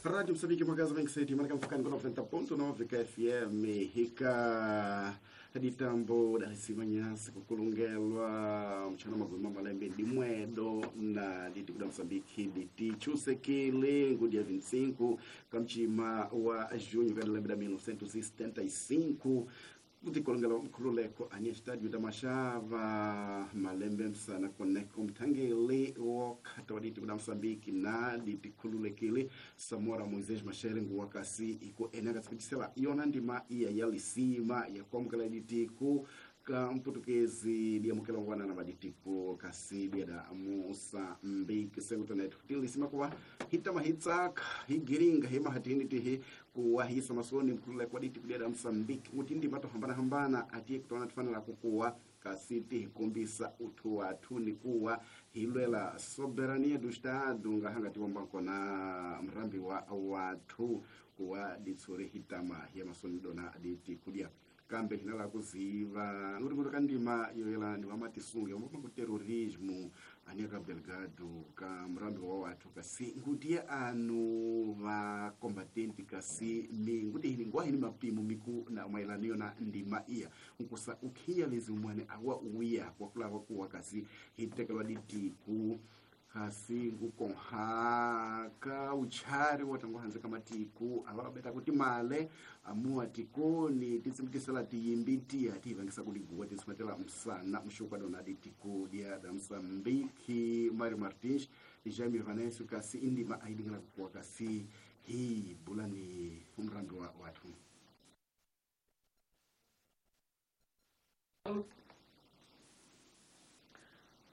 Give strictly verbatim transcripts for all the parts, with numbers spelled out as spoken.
Rádio Moçambique, Magaza vinte e sete, marca focando noventa ponto nove K F M, rica ditambo da Simanhasa, kukulungelwa mchana magoma malembe dimwedo na diti kuda Moçambique diti chusekele dia vinte e cinco kamchima wa junho kada lembe da mil novecentos e setenta e cinco kutikolongela mkhululeko anya estádio da Machava malembe msana koneko mthangele wokhata waditi kuda Moçambique na diti khululekile Samora Moisés Machel nguwakasi iko enaka tsipitisela yona ndima iya yalisima yakwamukela ditiku ka mputukezi diamukela ngwana na maditiko kasi dia da Moçambique sekutonet tilisima kuwa hitama hitsaka higiringa hema hatini tihi kuwa hisa masoni mkulule kwa diti kudia da Moçambique mutindi mato hambana hambana atiye kutona tufanela kukuwa kasi tihikumbisa uthu wathu ni kuwa hilwela soberania do estado ngahanga tiwombanko na mrambi wa wathu kuwa ditsuri hitama ya masoni dona diti kudia kambe hinala kuziva nguri kandima yoyela ni wamatisunge omba ku terrorismo ania Cabo Delgado ka mrambi wa wathu kasi ngutie anu va combatente kasi mi nguti hini ngwa hini mapimo miku na maelaniyo na ndima iya nkusa ukhiya lezi umwane awa uya kwa kulawa kuwa kasi hitekelwa ditiku kasi ngukonha ka uchari watangu hanze kamatiku avabeta kuti male amua tikoni titsimutisela tiyimbi ati vangisa kuliguwa titsimatela msana mshuka dona ditiku dia da Moçambique Mário Martins Jaime Vanessa kasi indima aidingela kuwa kasi hi bulani umrambi wa watu.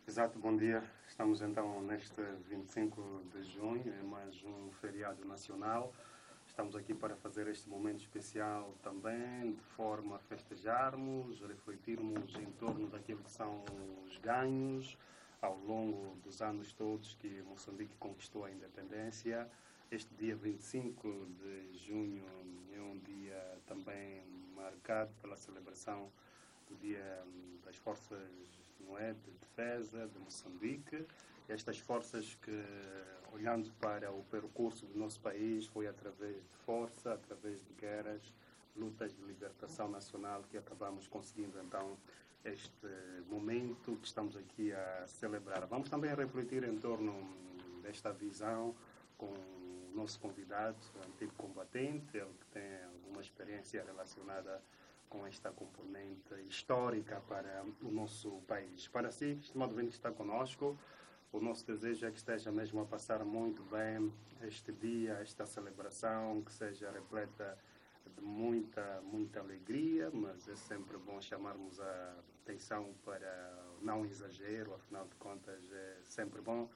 Exato, bom dia. Estamos então neste vinte e cinco de junho, é mais um feriado nacional. Estamos aqui para fazer este momento especial também, de forma a festejarmos, refletirmos em torno daquilo que são os ganhos ao longo dos anos todos que Moçambique conquistou a independência. Este dia vinte e cinco de junho é um dia também marcado pela celebração do Dia das Forças, não é, de Defesa de Moçambique. Estas forças que, olhando para o percurso do nosso país, foi através de força, através de guerras, lutas de libertação nacional que acabamos conseguindo então este momento que estamos aqui a celebrar. Vamos também refletir em torno desta visão com o nosso convidado, o antigo combatente, ele que tem alguma experiência relacionada com esta componente histórica para o nosso país. Para si, estimado ouvinte que está conosco, o nosso desejo é que esteja mesmo a passar muito bem este dia, esta celebração, que seja repleta de muita, muita alegria, mas é sempre bom chamarmos a atenção para não exagero, afinal de contas é sempre bom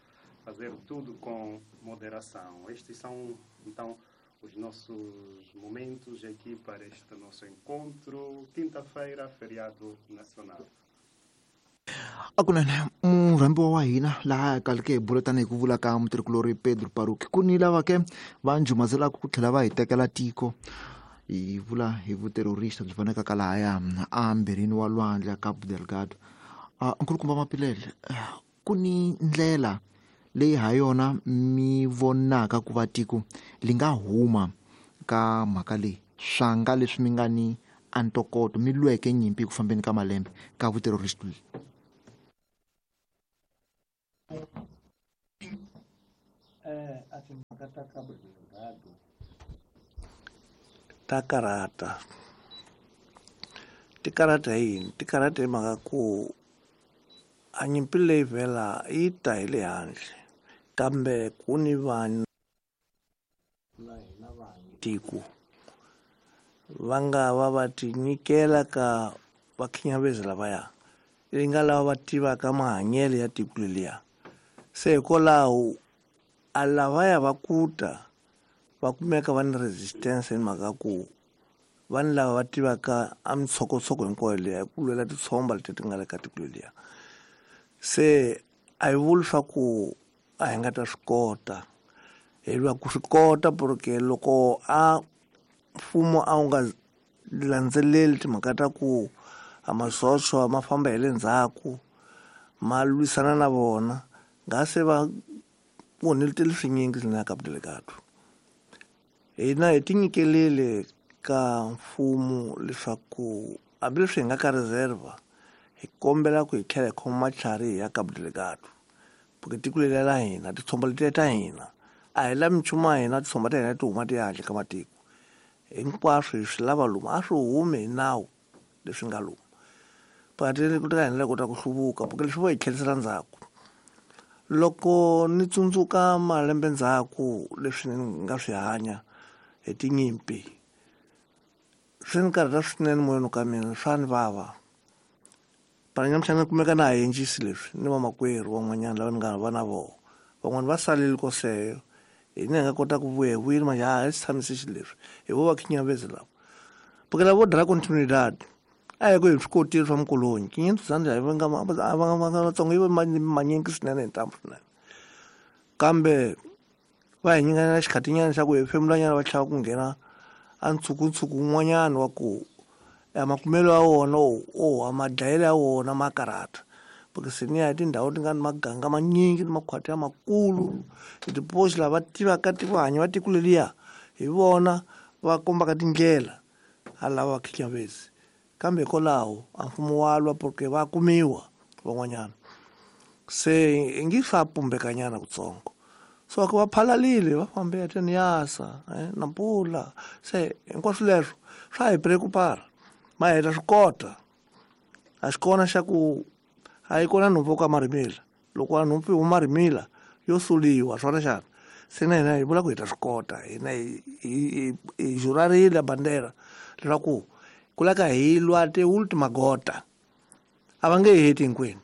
fazer tudo com moderação. Estes são, então, os nossos momentos aqui para este nosso encontro, quinta-feira, feriado nacional. Akunene murhambi wa hina laha kaleke hi bula tanihi ku vula ka mutirhikulori Pedro Paruki ku ni lava ke va njumazelaka ku tlhela va hi tekela tiko hi vula hi vuterrorista byi vonaka ka lahaya ambirhini wa lwandle Cabo Delgado. Nkulukumba Mapilele, ku ni ndlela leyi ha yona mi vonaka ku va tiko li nga huma ka mhaka leyi swanga leswi mi nga ni antokoto mi lweke nyimpi ku fambeni ka malembe ka vuterrorist leyi? Eh, a timhaka ta Cabo Delgado ta karata ti karata hi yini? Ti karata hi mhaka ku a nyimpi leyi vhela yi ta hi le handle kambe ku ni vanhu na hina vanhu tiko va nga va va ti nyikela ka vakhinyavezi lavaya yi nga lava va tivaka mahanyelo ya tiko leliya. Se hikwalaho a lavaya va kuta va kumeka va ni resistance hi mhaka ku vanhu lava va tivaka a mitshokotsoko hinkwayo liya hi ku lwela titshomba leti ti nga le ka tiko leliya. Se a hi vuli swa ku a hi nga ta swi kota, hi lwa ku swi kota porque loko a mfumo a wu nga landzeleli timhaka ta ku a masocha ma famba hi le ndzhaku ma lwisana na vona nga se va onheletele swinyingi swinene Cabo Delgado. Hina hi tinyikelele ka mfumo leswaku hambileswi hi nga ka reserve hi kombela ku hi tlhela hi khoma matlhari hi ya Cabo Delgado. Porque tiko leri la hina titshomba letiya ta hina a hi lavi nchumu wa hina titshomba ta hina ti huma ti ya handle ka matiko. Hinkwaswo hi swi lava lomu a swi humi hi nawu leswi nga lomu. Pakatini ku ta hina kota ku hluvuka porque leswi vo hi tlherisela ndzhaku. Loko ni tsundzuka malembe ndzhaku leswi ni nga swi hanya hi tinyimpi swi ni karhata swinene moyeni ka mina swa ni vava. Para nyamuhla ni kumeka na ha endlisi leswi ni vamakwerhu van'wanyana lava ni nga va na vona. Van'wani va salile koseyo hina hi nga kota ku vuya hi vuyile manje a hi swi tshamisi xileswi hi vo va khinyavezi lava. Porque lava vo dlaya continuidad a hi ku hi swi kotile swa mikolonyi quinhentos anos a va nga va nga Vatsonga yi ve manyingi swinene hi ntambu swinene. Kambe va hi nyikana xikhatinyana xa ku hefemulanyana va tlhela ku nghena a ntshukuntshuku wun'wanyana wa ku makumelo ya wona o madlayelo ya wona ma karhata. Porque se ni ya hi tindhawu ti nga ni maganga manyingi ni makhwati ya makulu hi tiposi lava tivaka tiko hanya va tiko leriya hi vona va kombaka tindlela a lava khinyavezi. Kambe hikwalaho a mfumo wa lwa porque va kumiwa van'wanyana. Se i ngi swa pumbekanyana kutsongo. So ku va phalalile va fambe ya Niassa eh Nampula se hinkwaswo leswo swa hi preocupara. Ma heta swi kota. A xi kona xa ku a yi kona nhompfu ka marimila. Loko a nhompfu yi huma rimila yo suliwa swona xana. Se na hina hi vula ku hi ta swi kota hina hi hi hi jurarile bandera leswaku ku lava hi lwa ti ultima gota. A va nge heti hinkwenu.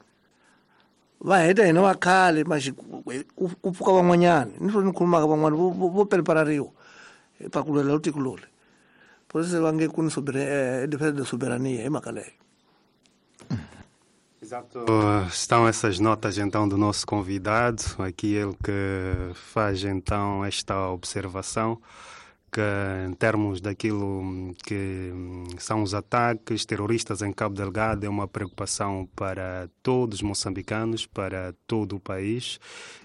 Va heta hina va khale maxi ku pfuka van'wanyana ni swo ni khulumaka van'wana vo vo preparariwa pa ku lwela tiko loli. Por isso va nge ku ni soberania defesa da soberania hi mhaka leyo. Exato. Estão essas notas então do nosso convidado, aqui ele que faz então esta observação que em termos daquilo que são os ataques terroristas em Cabo Delgado é uma preocupação para todos os moçambicanos, para todo o país,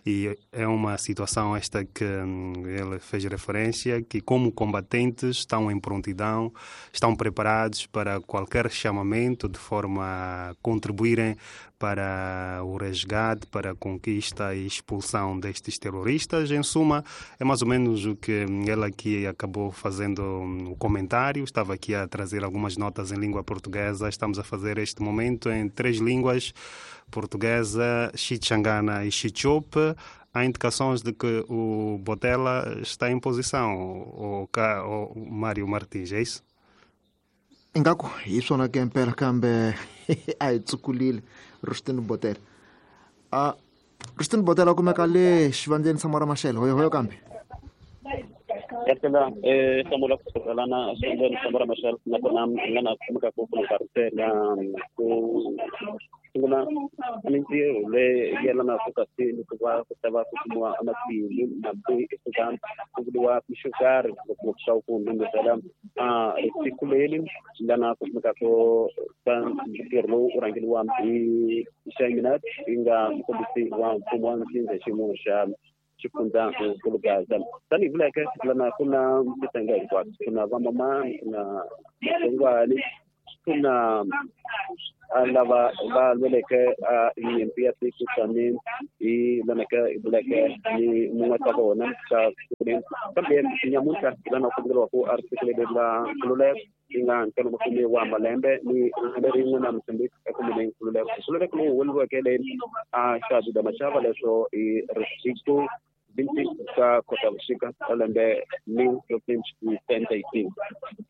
e é uma situação esta que ele fez referência, que como combatentes estão em prontidão, estão preparados para qualquer chamamento de forma a contribuírem para o resgate, para a conquista e expulsão destes terroristas. Em suma, é mais ou menos o que ele aqui acabou fazendo o comentário. Estava aqui a trazer algumas notas em língua portuguesa. Estamos a fazer este momento em três línguas: portuguesa, xichangana e xichope. Há indicações de que o Botela está em posição, o, o Mário Martins, é isso? Ingaku hi swona ke mpela kambe a hi tsukulile Rustin Botela. A Rustin Botela kumeka le xivandleni sa Mora Machel hoyo hoyo kambe. Yakela eh hlamula ku sukela xivandleni sa Mora Machel nakona nga na kumeka ku ku na ku sungula mintirho leyi yelanaka kasi ni ku va ku ta va ku kumiwa matimu na eka ku vuriwa xo karhi ngopfungopfu swa ku ndhundhuzela a tiko leri lana ku kumeka ku ntirho lowu u rhangeriwa hi Xaminat yi nga mufambisi wa mfumo wa ntsindza xiyimo xa xifundza nkulukaza tanihi vuleke lana ku na titsenga hinkwato ku na vamamani ku na matsongwani ku na lava va lweleke nyimpi ya tiko tani hi lanaka hi vuleke ni mun'we ta vona ka kambe nyamuntlha lana ku vuriwa ku a ri fikelele la nkululeko yi nga ntlhanu makume wa malembe ni lembe rin'we na Mozambique ekumeni nkululeko nkululeko lowu huweleriweke le a xa Machava leswo hi risiku vinte ka Khotavuxika ka lembe mil novecentos e setenta e cinco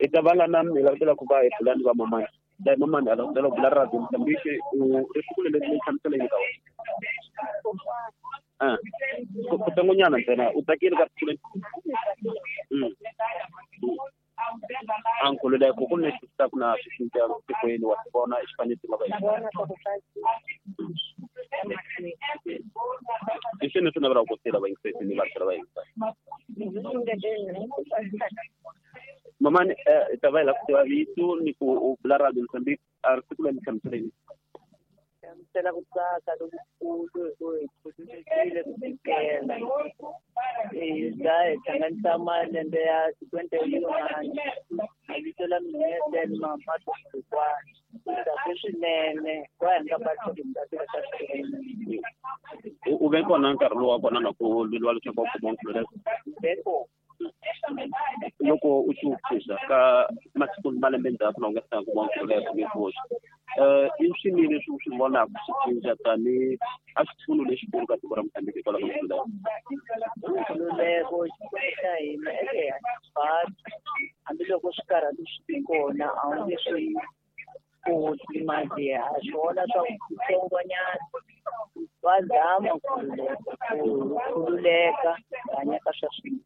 i ta va lana hi langutela ku va hi pulani va mamani la mamani a langutela ku bula radio Mozambique u risiku leri ni hlamusela yini ka wena ah ku tongonyana ntsena u tsakile ka risiku leri a nkululeko ku ni swi ku na swi cinca tikweni wa swi vona xifaniso nga va i swini swi navelaka ku tirha vayingiseri ni vatirhi va yingisa mamani hi ta va hi lava ku tiva vito ni ku u bula radio Mozambique a risiku leri ni hlamusela yini hlamusela ku tsaka lokukulu hi ku hi khululekile ku tikela Hi za hi hlanganisa malembe ya twenty-one. Mavito la mina ya Selma Matukwana. Kahle swinene ku ya nga batli ka swinene. U ve kona nkarhi lowu wa kona na ku lweliwa leswaku u kuma nkhululeko? Ve kona. Loko u tsundzuxa ka masiku malembe ndzhaku na u nga se kuma nkhululeko ni koxa. Eh i swini leswi u swi vonaka swi cinca tani a xipfuno lexikulu ka tiko ra Mozambique hikwalaho ka nkhululeko? Nkhululeko xa hina eke hambiloko swikarhati swi kona a wu nge swi koti mali ha swona swa kutsongonyana va zama ku khululeka hanya ka swa swilo.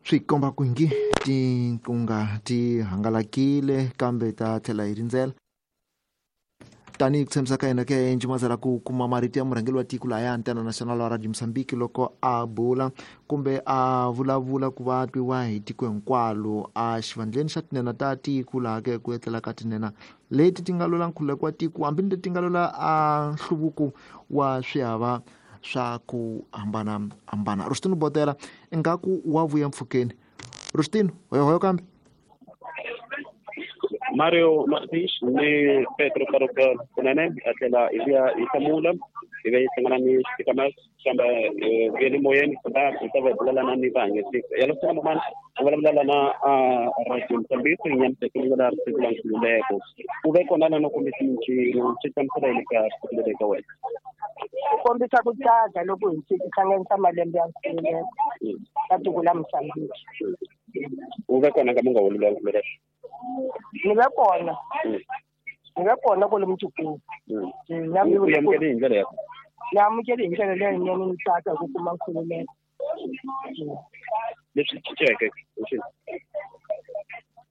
Swi komba ku ngi tinkunga ti hangalakile kambe ta tlhela hi rindzela tanihi ku tshembisa ka yena ke Njimazela ku kuma marito ya murhangeri wa tiko lahaya Antena National wa Radio Mozambique loko a bula kumbe a vulavula ku va twiwa hi tiko hinkwalo a xivandleni xa tinene ta tiko laha ke ku etlela ka tinene leti ti nga lwela nkhululeko wa tiko hambi leti ti nga lwela a nhluvuko wa swihava swa ku hambana hambana. Rustino Botela ingaku wa vuya mpfhukeni. Rustino hoyo hoyo kambe Mario Martins ni Petro Karoka kunene a tlhela hi vuya hi hlamula hi ve hi hlangana ni xitikamas kambe vuye le moyeni la hi ta va hi vulavula ni vahanyisi ya loko mamani u vulavula na Radio Mozambique hi nyamiseke ni la siku la nkhululeko u ve kona na no kombisa mincino swi hlamusela yini ka siku leri ka wena? Ku kombisa ku tsaka loko hi fika hlanganisa malembe ya nkhululeko ka tiko la Mozambique. U ve kona ka munga wo lwela nkhululeko? Ni ve kona. Ni ve kona kwalomu tikweni. U amukele hi ndlela ya Ni amukele hi ndlela leyinene ni tsaka ku kuma nkhululeko. Leswi cinceke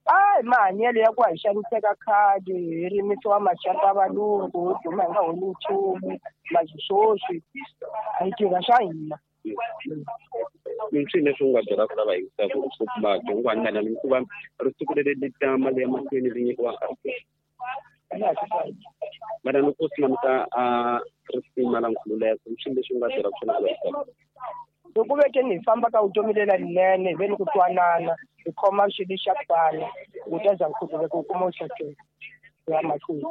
Hayi mahanyelo ya ku hi xaniseka khale hi rimisiwa maxaka ya valungu hi duma hi nga holi nchumu manje sweswi hi tirha swa hina. I swini leswi u nga byelaka lava yingisaka ku va dyongwana hikuva risiku leri ri ta mali ya mahlweni ri nyikiwa mana loko swi languta a risima la nkhululeko i swini leswi u nga byelaka swona ku va yingisaka? Loko vekeni hi famba ka vutomi lelinene hi ve ni ku twanana hi khoma xilo xa ku fana ku ta za nkhululeko wu kuma wu xaxeka ku ya mahlweni.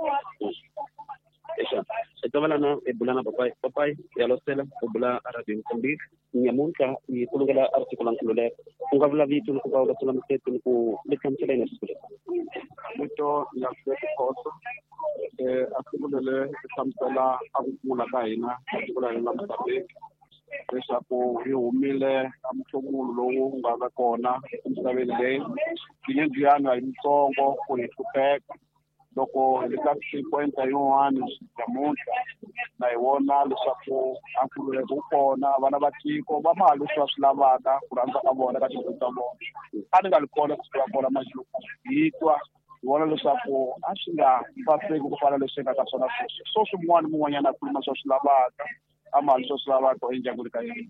Exa hi ta va lana hi bula na papayi papayi ya losela u bula Radio Mozambique nyamuntlha hi kulungela a siku la nkhululeko u nga vula vito ni ku va u lasela mihleto ni ku mi hlamusela yini siku leri? Vito Nyaseke Khoso a siku leri ri hlamusela a ku kula ka hina ka tiko la hina la Mozambique leswaku hi humile ka muhlomulo lowu nga va kona emisaveni leyi tinyendziyana hi mitsongo ku hi hlupheka loko hi le ka cinquenta yin'wani namuntlha na hi vona leswaku a nkhululeko wu kona vana va tiko va ma leswi va swi lavaka ku rhandza ka vona ka tidyondzo ta vona a ni nga li kona ku sukela kona manje loko hi twa hi vona leswaku a swi nga saseki ku fana leswi nga ka swona sweswi so swin'wana mun'wanyana a khuluma swa swi lavaka a mali swa swi lavaka endyangwini ka yena.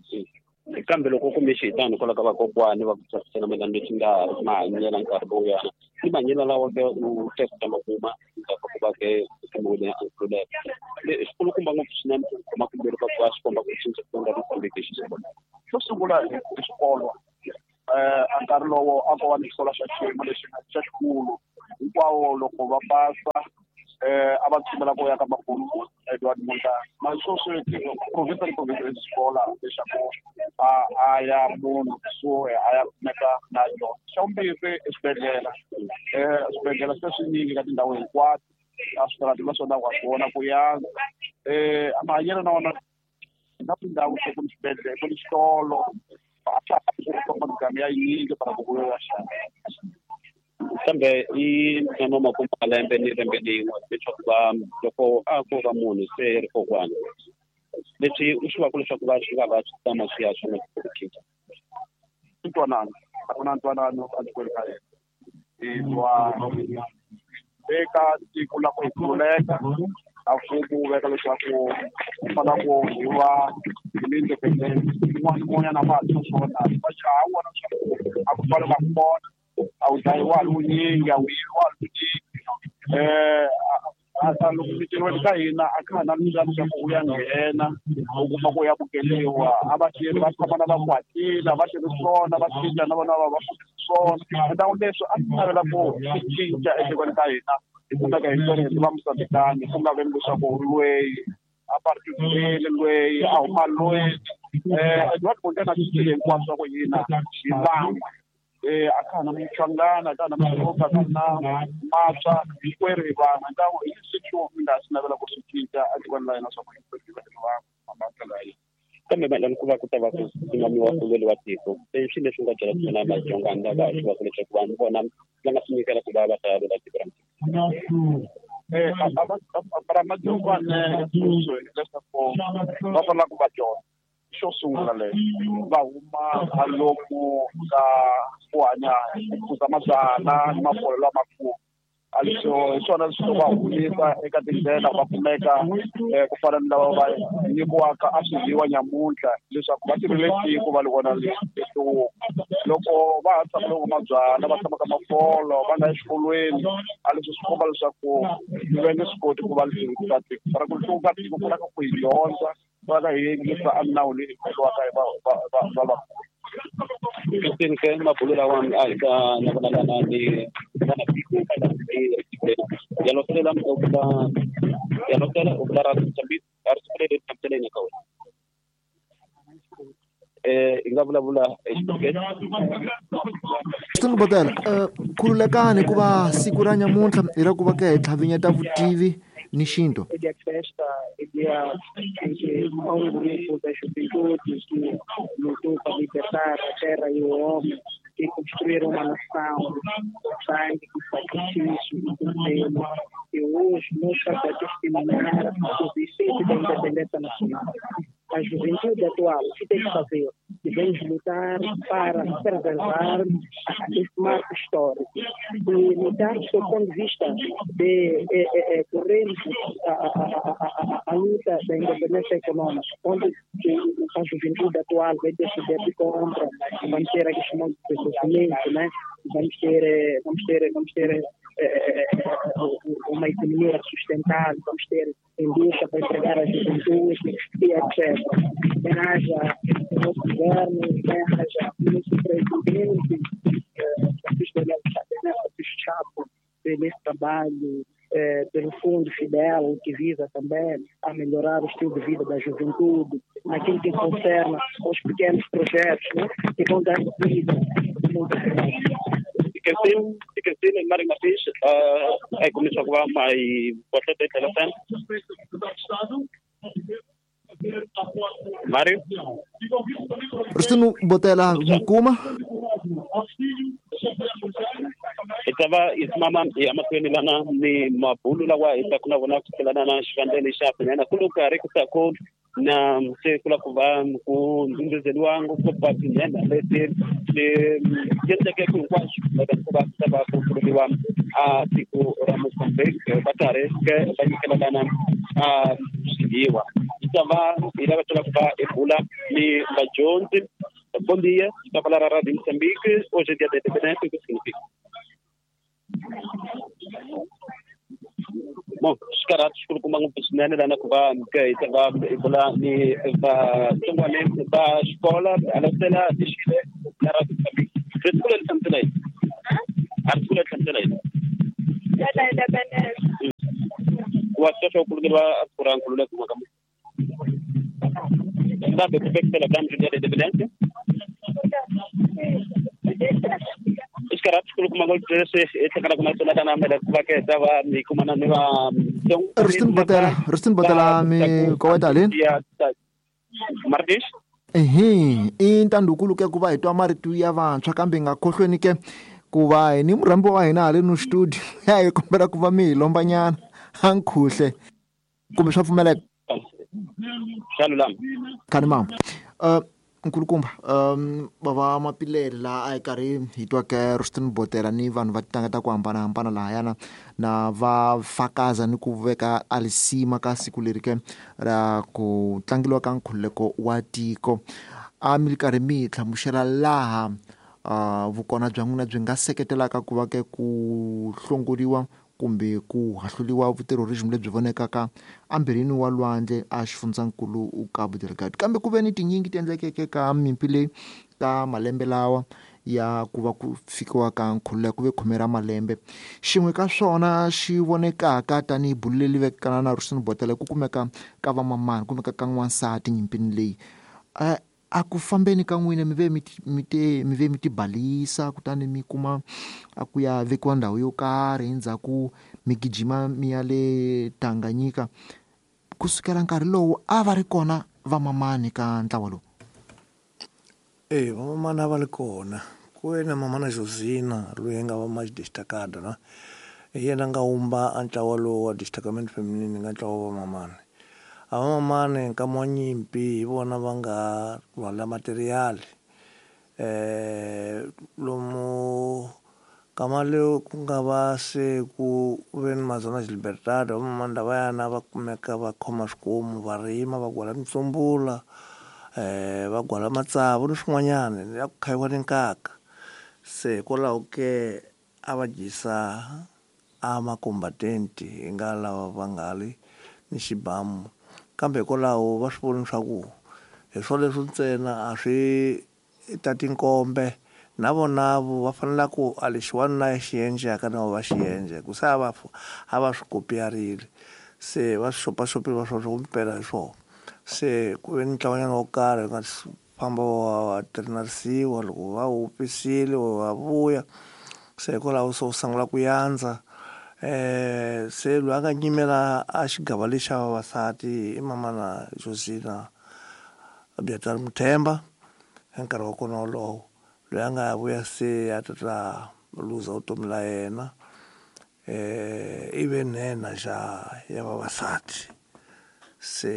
Kambe loko u kume xihitani hikwalaho ka vakokwani va ku tsakisela mayelana leswi nga mahanyela nkarhi lowuyana ni mahanyelo lawa ke u teka ma kuma ndzhaku ka ku va ke u kumiwile a nkhululeko xikulukumba ngopfu swinene ku khoma kumbe ka ku va swi komba ku cinca ku nga Mozambique xi sungula. Xo sungula hi xikolo a nkarhi lowo a ko va ni xikolo xa xiyimo lexi xa xikulu hinkwawo loko va pasa a va tshembela ku ya ka makulu Edward Montana na sweswi province ni province i xikola lexaku a a ya munhu kusuhi a ya kumeka na yona. Xa vumbirhi i swibedhlele swibedhlele se swinyingi ka tindhawu hinkwato a switarati naswona wa swi vona ku yantswa mahanyelo na wona na tindhawu se ku ni xibedhlele ku ni xitolo a swa ha ku famba miganga ya yinyingi para ku ya xava. Kambe i ntsena makume malembe ni lembe rin'we leswaku va loko a ko va munhu se ri kokwana leswi u swi vaka leswaku va swi nga va swi tama swi ya swona ku cinca. Ntwanano a ku na ntwanano etikweni ka hina hi twa eka tiko la ku hi khululeka a mfumo wu veka leswaku ku fanele ku hi va hi ni independence un'wana na un'wanyana va ha swona va xa ha vona leswaku a ku fanele va kona a wu dlayiwa wunyingi a wu yiviwa wunyingi eh a loko mitirhweni ka hina a ka ha na mindzalo swa ku u ya nghena u kuma ku ya bukeliwa a va tirhi va tshama na va kwatile va tirhi swona va cinca na vona va va swona ndhawu leswi a swi navela ku swi cinca etikweni ka hina hi kumeka hi tori hi va Mozambikani ku nga veni leswaku loyi a particularly loyi a huma loyi eh Edward Mondlane a cincile hinkwaswo swa ku hina hi van'we eh a ka ha na Mchangana a ka ha na Maloka a ka ha na Matswa hinkwerhu hi van'we ndhawu hi leswi mi nga swi navela ku swi cinca etikweni la hina swa ku hinkwerhu hi va hi van'we ndlela ya hina. Kambe mayelana ku va ku ta va ku simamiwa ku lweriwa tiko i swilo leswi nga byela swona Madzongani lava swi va ku leswaku vanhu vona va nga swi nyikela ku va va ta lwela tiko ra Eh a Madzongane leswaku va fanele ku va dyondza xo sungula leyo va huma lomu ka ku hanya ku phuza mabyalwa ni mafole lamakulu a leswo hi swona leswi va humisa eka tindlela va kumeka ku fana ni lava va nyikiwaka a swidliwa nyamuntlha leswaku va tirhile tiko va li vona leswi loko va ha tshama loko mabyalwa va tshama ka mafolo va nga exikolweni a leswi swi komba leswaku va nge swi koti ku va hluvuka tiko fana ku hluvuka tiko ku lava ku hi dyondza va ka hi yingisa a minawu leyi endliwaka hi va va va va vakulu. Christine ke mabulo lawa a hi ka na vona lana ni vana tiko ya losela u ya losela u vula ra Mozambique a ri sukule hlamuseleni ka wena eh hi nga vulavula exiportugezi. Christine Botela khululekani ku va siku ra nyamuntlha hi ra ku va ke hi tlhavinyeta vutivi ni xintu. É dia de festa, é dia em que há um grupo da juventude que lutou para libertar a terra e o homem, que construíram uma nação com sangue, com sacrifício e com pelo. E hoje nós estamos a testemunhar o vicente da independência nacional. A juventude atual, o que tem que fazer? Devemos lutar para preservar esse marco histórico e lutar do seu ponto de vista de eh, eh, corrermos a, a, a, a, a luta da independência econômica, onde a juventude atual vai ter poder de compra, vamos ter aqui chamado de desenvolvimento, né? Vamos ter, vamos ter, vamos ter uma economia sustentável, vamos ter indústria para empregar a juventude e etcétera. Bem haja o nosso governo, bem haja o nosso presidente, Francisco Chapo, pelo esse trabalho, eh, pelo Fundo Fidel, que visa também a melhorar o estilo de vida da juventude, naquilo que concerne os pequenos projetos, né, que vão dar vida a muita gente. Christine, Christine Mário Martins, é começou a mais bastante telefone. Mário? Christine Botela Mukuma. Itava isimama emahlweni lana ni mabulu lawa hi ta ku na vona ku tlhelana na xivandleni xa swinene ku karhi ku ta ku na se ku lava ku va ku ndhundhuzeliwa ngopfu va tinhenha leti ti endleke hinkwaswo loko ku va ta va ku khululiwa a tiko ra Mozambique va karhi ke va nyikelelana a swiviwa yi ta va hi lava ku va hi bula ni vadyondzi. Bom dia, está a falar a Rádio Moçambique, hoje é dia da independência, o que significa? Bom, xikarato xikulukumba ngopfu swinene lana ku va ke hi ta va hi bula ni vatsongwane va xikola alasela lexile la Radio Moçambique. Ri siku leri hlamusela yini? A ri siku leri hlamusela yini? Wa sweswo ku kulungeriwa siku ra nkhululeko mwaka muni? Sabe como é que celebramos o dia da independência? Rustin Botela, Rustin Botela mi koweta lini? Martins? Ehe, i ntandukulu ke ku va hi twa marito ya vantshwa kambe hi nga khohlweni ke ku va hi ni murhambi wa hina haleno studio ya hi kombela ku va mi hi lombanyana a nkhuhle kumbe swa pfumeleka. Swa lulama. Khani mama. Uh, nkulukumba um bava Mapilele laha a hi karhi hi twa ke Rustin Botela ni vanhu va titanga ta ku hambanahambana lahayana na va fakaza ni ku veka alisima ka siku leri ke ra ku tlangeliwa ka nkhululeko wa tiko. A mi ri karhi mi hi hlamusela laha uh, vukona bya n'wina byi nga seketelaka ku va ke ku hlongoriwa kumbe ku hahluliwa vuterrorism lebyi vonekaka ambirhini wa lwandle a xifundzankulu Cabo Delgado. Kambe ku ve ni tinyingi ti endlekeke ka mimpi leyi ka malembe lawa ya ku va ku fikiwa ka nkhululeko ku ve khume ra malembe. Xin'we ka swona xi vonekaka tanihi bulu leri vekana na Ruston Botele ku kumeka ka vamamani kumeka ka n'wansati nyimpini leyi. A ku fambeni ka n'wina mi ve mi mi te mi ve mi tibalisa kutani mi kuma a ku ya vekiwa ndhawu yo karhi endzhaku mi gijima mi ya le Tanganyika. Kusukela nkarhi lowu a va ri kona vamamani ka ntlawa lowu? Eh, vamamani a va ri kona. Ku ve na mamana Josina loyi a nga va ma destacada na hi yena a nga wumba a ntlawa lowu wa destacamento feminine nga ntlawa wa vamamani. A vamamani nkama wa nyimpi hi vona va nga rhwala material eh lomu kama leo ku nga va se ku ve ni mazona Libertad vamamani lavayana va kumeka va khoma swikomu va rima va gwala mitsumbula eh va gwala matsavu ni swin'wanyana ya ku khayiwa ni nkaka. Se hikwalaho ke a va dyisa a makombatenti hi nga lava va nga ri ni xibamu, kambe hikwalaho va swi voni swa ku hi swoleswo ntsena a swi ta tinkombe na vona va fanele ku a lexi wanuna xi endlaka na va xi endla ku se a va a va swi kopiyarile se va swi xopaxopile va swi ku mpela hi swona. Se ku ve ni ntlawanyana wo karhi nga famba wa trenarisiwa loko va wupisile va vuya se hikwalaho se wu sungula ku yandza. Eh se loyi a nga nyimela a xigava lexi xa vavasati i mamana Josina Biatar Muthemba hi nkarhi wa kona wolowo loyi a nga vuya se a ta ta luza vutomi la yena eh i ve nhenha xa ya vavasati. Se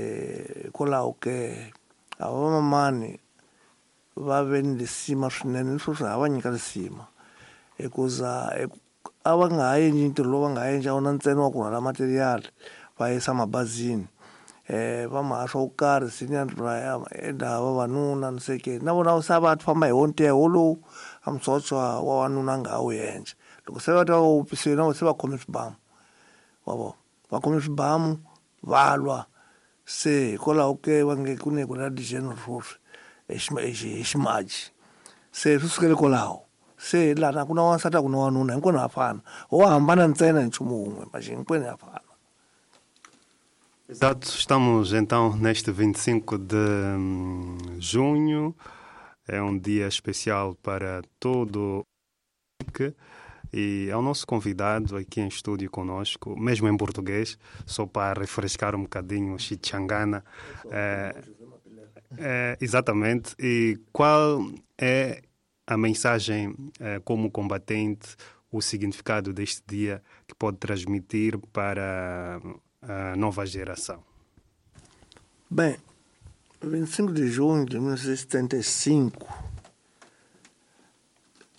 hikwalaho ke a vamamani va ve ni lisima swinene ni sweswi ha va nyika lisima hikuza a va nga ha endli ntirho lowu va nga ha endla wona ntsena wa ku rhwala material va yisa mabazini eh va mahaxa wo karhi senior enda vavanuna ni seke na vona se va famba hi wo nteho lowu a musocha wa wanuna a nga ha wu endla. Loko se va ta va wupisile na se va khome swibamu wa vona va khome swibamu va lwa. Se hikwalaho ke va nge ku ne ku na general sweswi hi ximaji se swi sukele kwalaho. Se lana ku na wansati a ku na wanuna hinkwenu ha fana ho hambana ntsena hi nchumu wun'we mas hinkwenu ha fana. Exato, estamos então neste vinte e cinco de junho, é um dia especial para todo o e é o nosso convidado aqui em estúdio conosco, mesmo em português, só para refrescar um bocadinho o Xichangana. É, é, exatamente, e qual é a mensagem é, como combatente, o significado deste dia que pode transmitir para a nova geração? Bem, vinte e cinco de junho de mil novecentos e setenta e cinco,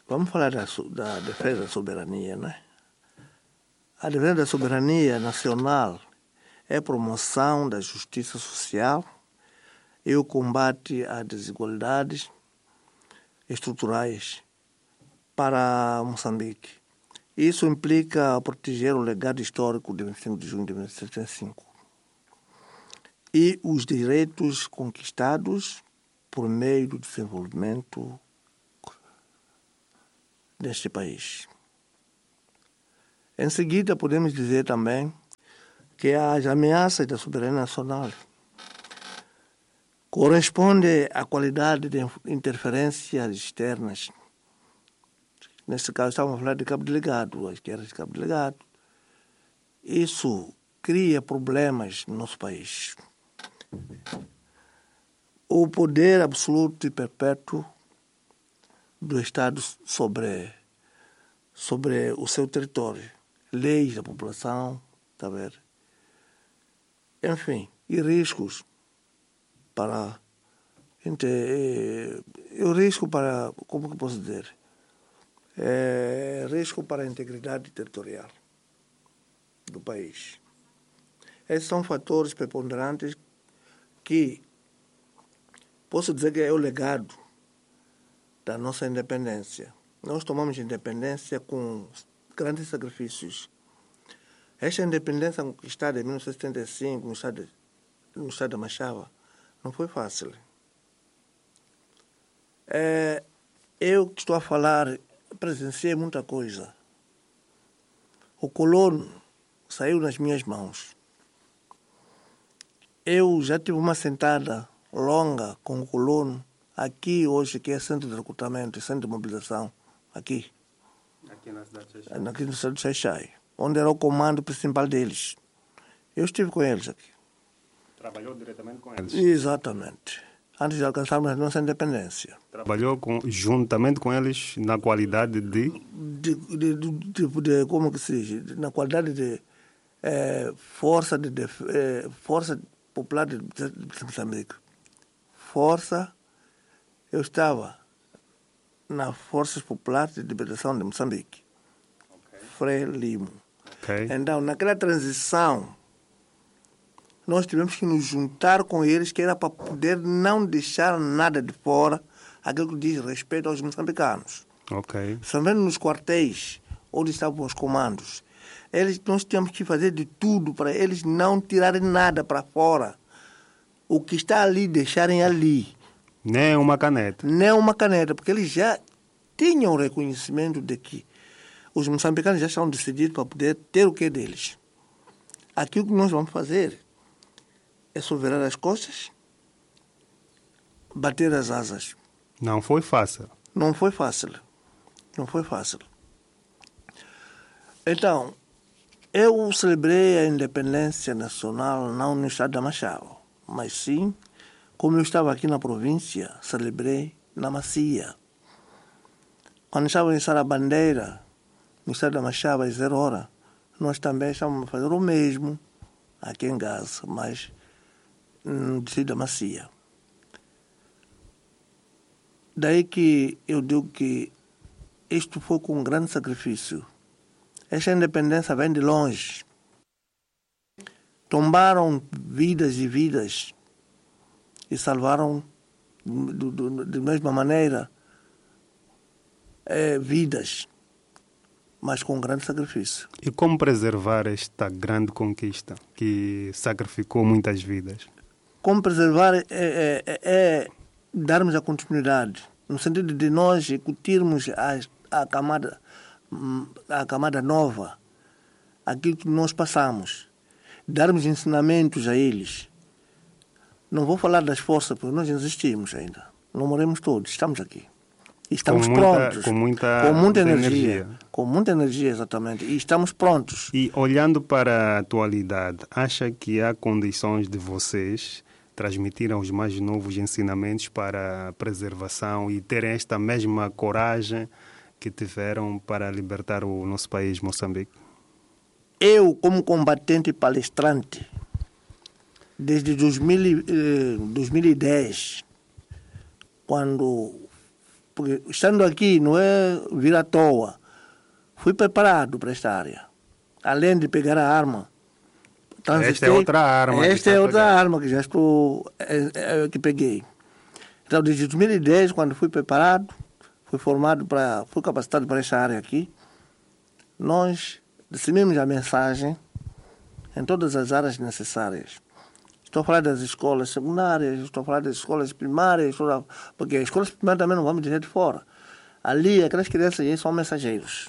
vamos falar da, da defesa da soberania, né? A defesa da soberania nacional é a promoção da justiça social e o combate às desigualdades estruturais para Moçambique. Isso implica proteger o legado histórico de vinte e cinco de junho de mil novecentos e setenta e cinco e os direitos conquistados por meio do desenvolvimento deste país. Em seguida, podemos dizer também que as ameaças da soberania nacional correspondem à qualidade de interferências externas. Nesse caso, estamos a falar de Cabo Delgado, as guerras de Cabo Delgado. Isso cria problemas no nosso país. O poder absoluto e perpétuo do Estado sobre, sobre o seu território, leis da população, tá a ver? Enfim, e riscos para... E o risco para, como que posso dizer? É, risco para a integridade territorial do país. Esses são fatores preponderantes que posso dizer que é o legado da nossa independência. Nós tomamos independência com grandes sacrifícios. Esta independência conquistada em mil novecentos e setenta e cinco, no estado, no estado da Machava, não foi fácil. É, eu que estou a falar, presenciei muita coisa. O colono saiu nas minhas mãos. Eu já tive uma sentada longa com o colono, aqui hoje, que é centro de recrutamento, centro de mobilização, aqui. Aqui na cidade de Xai-Xai. Aqui na cidade de Xai-Xai, onde era o comando principal deles. Eu estive com eles aqui. Trabalhou diretamente com eles? Exatamente. Antes de alcançarmos a nossa independência. Trabalhou com, juntamente com eles na qualidade de? De, de, de, de, de como que se diz? Na qualidade de eh, força, de, de, eh, força popular de, de Moçambique. Força, eu estava na Forças Populares de Libertação de Moçambique. Okay. Frelimo. Okay. Então, naquela transição, nós tivemos que nos juntar com eles, que era para poder não deixar nada de fora, aquilo que diz respeito aos moçambicanos. Ok. Também nos quartéis, onde estavam os comandos, eles, nós tínhamos que fazer de tudo para eles não tirarem nada para fora. O que está ali, deixarem ali. Nem uma caneta. Nem uma caneta, porque eles já tinham o reconhecimento de que os moçambicanos já estavam decididos para poder ter o que é deles. Aquilo que nós vamos fazer é só virar as costas, bater as asas. Não foi fácil. Não foi fácil. Não foi fácil. Então, eu celebrei a independência nacional não no estado da Machava, mas sim, como eu estava aqui na província, celebrei na Macia. Quando estava em Sarabandeira, no estado da Machava, às zero hora, nós também estávamos a fazer o mesmo aqui em Gaza, mas no distrito da Macia. Daí que eu digo que isto foi com um grande sacrifício. Esta independência vem de longe. Tombaram vidas e vidas e salvaram, do, do, de mesma maneira, é, vidas, mas com um grande sacrifício. E como preservar esta grande conquista que sacrificou muitas vidas? Como preservar é, é, é, é darmos a continuidade, no sentido de nós incutirmos a, a, camada, a camada nova, aquilo que nós passamos, darmos ensinamentos a eles. Não vou falar das forças, porque nós existimos ainda. Não morremos todos, estamos aqui. Estamos com muita, prontos. Com muita, com muita energia, energia. Com muita energia, exatamente. E estamos prontos. E olhando para a atualidade, acha que há condições de vocês transmitirem aos mais novos ensinamentos para a preservação e terem esta mesma coragem que tiveram para libertar o nosso país, Moçambique? Eu, como combatente e palestrante, desde dois mil, dois mil e dez, quando... Porque estando aqui, não é vir à toa. Fui preparado para esta área. Além de pegar a arma. Esta é outra arma. Esta é outra arma que já estou, é, é, que peguei. Então, desde dois mil e dez, quando fui preparado, fui formado para, fui capacitado para esta área aqui, nós disseminamos a mensagem em todas as áreas necessárias. Estou a falar das escolas secundárias, estou a falar das escolas primárias, estou a... porque as escolas primárias também não vamos dizer de fora. Ali, aquelas crianças aí são mensageiros.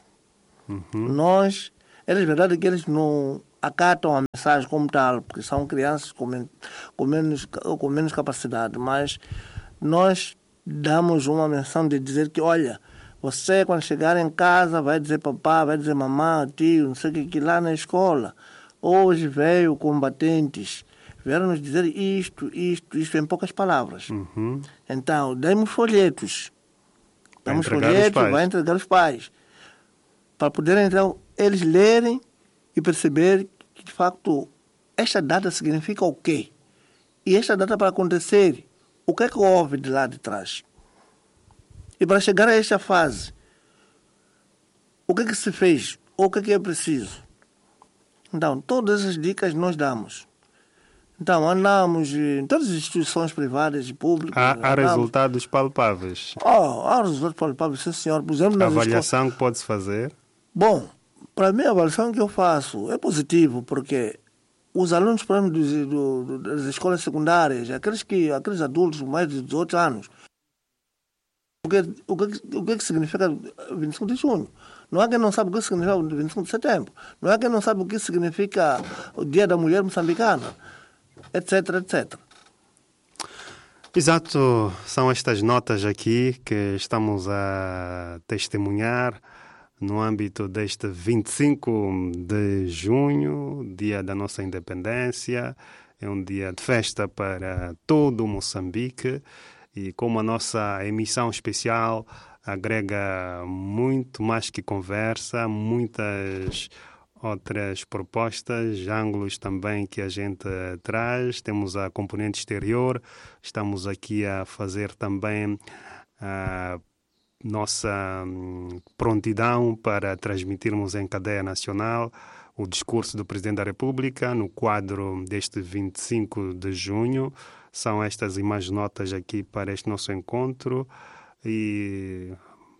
Uhum. Nós, é verdade que eles não acatam a mensagem como tal, porque são crianças com, men com, menos, com menos capacidade, mas nós damos uma menção de dizer que, olha, você quando chegar em casa vai dizer papá, vai dizer mamã, tio, não sei o que, que lá na escola, hoje veio combatentes, vieram nos dizer isto, isto, isto, em poucas palavras. Uhum. Então, demos folhetos. Demos folhetos, vai entregar os pais. Para poderem, então, eles lerem e perceber que, de facto, esta data significa o quê? E esta data para acontecer, o que é que houve de lá de trás? E para chegar a esta fase, o que é que se fez? O que é que é preciso? Então, todas essas dicas nós damos. Então, andamos em todas as instituições privadas e públicas. Há, há resultados palpáveis. Oh, há resultados palpáveis, sim, senhor. Por exemplo, a avaliação que pode-se fazer? Bom, Para mim, a avaliação que eu faço é positivo, porque os alunos, por exemplo, do, do, das escolas secundárias, aqueles, que, aqueles adultos com mais de dezoito anos, o que, o que, o que significa vinte e cinco de junho? Não há quem não sabe o que significa vinte e cinco de setembro. Não há quem não sabe o que significa o Dia da Mulher Moçambicana, etc, etcétera. Exato, são estas notas aqui que estamos a testemunhar no âmbito deste vinte e cinco de junho, dia da nossa independência. É um dia de festa para todo o Moçambique e como a nossa emissão especial agrega muito mais que conversa, muitas outras propostas, ângulos também que a gente traz. Temos a componente exterior, estamos aqui a fazer também a nossa prontidão para transmitirmos em cadeia nacional o discurso do Presidente da República no quadro deste vinte e cinco de junho. São estas e mais notas aqui para este nosso encontro. E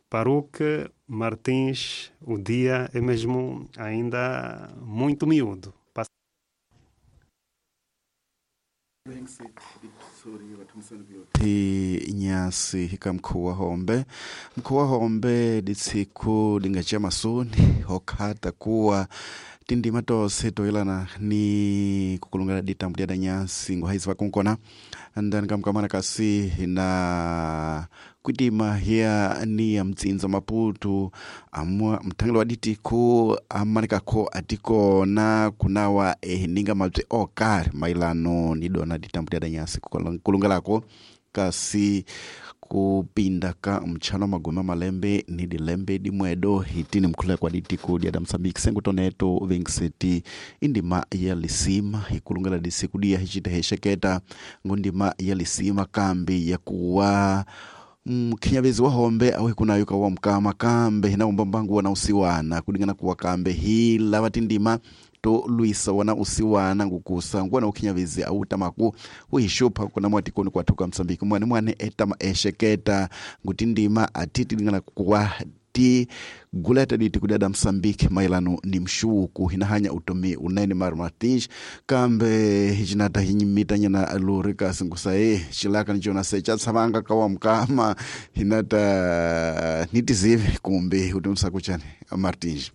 Parruque, Martins, o dia é mesmo ainda muito miúdo. Ti nyasi hika mkuu wa Hombe mkuu wa Hombe ditsiku lingachia masuni hokhata kuwa tindima tose toilana ni kukulungana ditambu dia nyasi nguhaizi vakunkona ndani kamkamana kasi na kwitima hiya ni ya mtsinza Maputo amwa mthangelo wa ditiku amanikakho atikona kunawa ehininga mabye okari mailano nidona ditambu dia nyasi kulungalako kasi kupinda ka mchano magoma malembe ni dilembe dimwedo hitini mkhula kwa ditiku dia Msambiki sengutoneto vinkseti indima ya lisima ikulungala disiku dia hichita hesheketa ngundima ya lisima kambi ya kuwa mkhinyabezi wa Hombe awe kunayo kawa mkama kambe na umbambangu wana usiwana kulingana kuwa kambe hila batindima to luisa wana usiwana ngukusa ngwana ukhinyabezi autamaku uhishupa kuna mwatikoni kwathuka Msambiki mwane mwane etama esheketa ngutindima atiti lingana kuwa ti guleta diti kudada Msambiki mailano ni mshuku hinahanya utomi unene Mar Martins kambe hichinata hinyimitanya luri kasi ngusae chilaka nichona secha tsavanga kawa mkama hinata nitizive kumbe utomsa kuchane Martins.